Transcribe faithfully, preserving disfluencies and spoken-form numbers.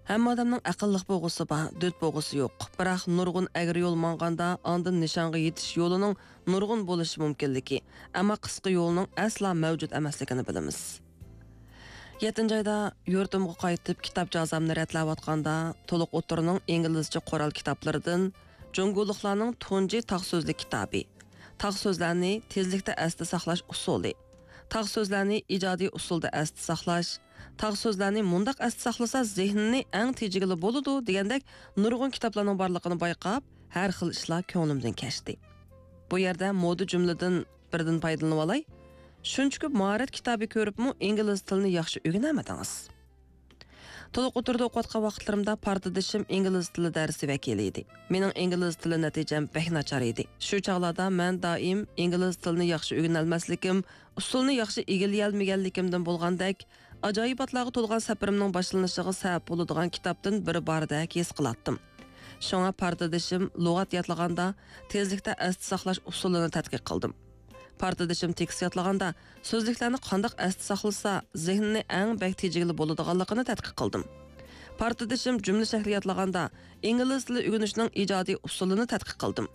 ھەممە ئادەمنىڭ ئەقىللىق بوغۇسى بار، دۆت بوغۇسى يوق. بىراق نۇرغۇن ئەگرى يول ماڭغاندا، ئاندىن نىشانغا يېتىش يولىنىڭ نۇرغۇن بولۇشى مۇمكىنلىكى، ئەمما قىسقا يولنىڭ ئەسلا مەۋجۇت ئەمەسلىكىنى بىلىمىز. يەتتىنچى ئايدا يۇرتۇمغا قايتىپ، كىتاب جازامنى رەتلەۋاتقاندا، تولۇق ئوتتۇرىنىڭ ئىنگلىزچە قورال كىتابلىرىدىن جۇڭگولۇقلارنىڭ تۇنجى تاغ سۆزلۈك كىتابى، تاغ سۆزلەرنى تېزلىكتە ئەستە ساقلاش ئۇسۇلى، تاغ سۆزلەرنى ئىجادىي ئۇسۇلدا ئەستە ساقلاش، تاغ سۆزلەرنى مۇنداق ئەستە ساقلىسا، زېھنىنى ئەڭ تېجىگىلى بولىدۇ دېگەندەك نۇرغۇن كىتابلارنىڭ بارلىقىنى بايقاپ، ھەر خىل ئىشلار كۆڭلۈمدىن كەچتى. بۇ يەردە مودا جۈملىدىن بىردىن پايدىلىنىۋالاي. شۇنچە كۆپ ماھارەت كىتابى كۆرۈپمۇ ئىنگلىز تىلىنى ياخشى ئۆگىنەلمىدىڭىز. تولۇق ئوتتۇرىدا ئوقۇۋاتقان ۋاقىتلىرىمدا پارتدىشىم ئىنگلىز تىلى دەرسى ۋەكىلى ئىدى. مېنىڭ ئىنگلىز تىلى نەتىجەم بەك ناچار ئىدى. شۇ چاغلاردا مەن دائىم ئىنگلىز تىلىنى ياخشى ئۆگىنەلمەسلىكىم، ئۇسۇلنى ياخشى ئىگىلىيەلمىگەنلىكىمدىن بولغاندەك، ئاجايىباتلارغا تولغان سەپىرىمنىڭ باشلىنىشىغا سەۋەب بولىدىغان كىتابتىن بىرى باردەك ھېس قىلاتتىم. شۇڭا پارتدىشىم لۇغەت يادلىغاندا، تېزلىكتە ئەستە ساقلاش ئۇسۇلىنى تەتقىق قىلدىم. پارتدىشىم تېكىست يادلىغاندا، سۆزلۈكلەرنى قانداق ئەستە ساقلىسا، زېھنىنى ئەڭ بەك تېجىگىلى بولىدىغانلىقىنى تەتقىق قىلدىم. پارتدىشىم جۈملە شەكلى يادلىغاندا، ئىنگلىز تىلى ئۆگىنىشنىڭ ئىجادىي ئۇسۇلىنى تەتقىق قىلدىم.